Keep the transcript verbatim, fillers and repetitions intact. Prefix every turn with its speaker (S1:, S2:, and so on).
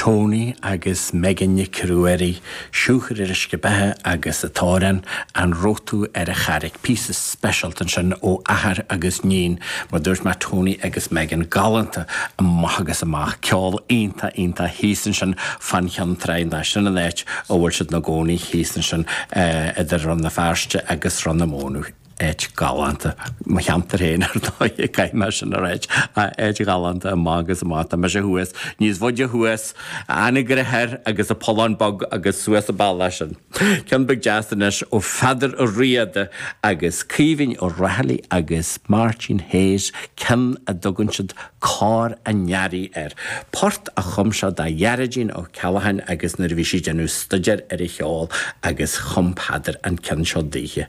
S1: Tony agus Megan Nic Ruairí, Siúcra ar Uisce Beatha agus an t-amhrán An Raibh Tú ar an Charraig. Píosa speisialta ansin ó athair agus níon, mar dúirt mé Tony agus Megan galánta amach agus amach. Ceol iontach iontach thíos ansin fán Cheann Trá, sin an áit a bhfuil siad ina gcónaí thíos ansin idir Rann na Feirste agus Rann na Mónadh. Áit ghalánta. Mo cheantar féin ar ndóigh, caithfidh mé sin a ráit. Áit ghalánta amach agus amach. Tá mise thuas, níos faide thuas, Anagaire Thoir agus an Pollán Beag agus suas an bealach sin. Ceann beag deas anois ó Pheadar Ó Riada agus Caoimhín Ó Raghallaigh agus Máirtín Hayes, ceann a dtugann siad Cor an Earraigh air. Port a chum sé do Ghearóidín Ó Ceallacháin agus nuair a bhí sí ag déanamh staidéir ar an cheol agus chum Peadar an ceann seo daoithe.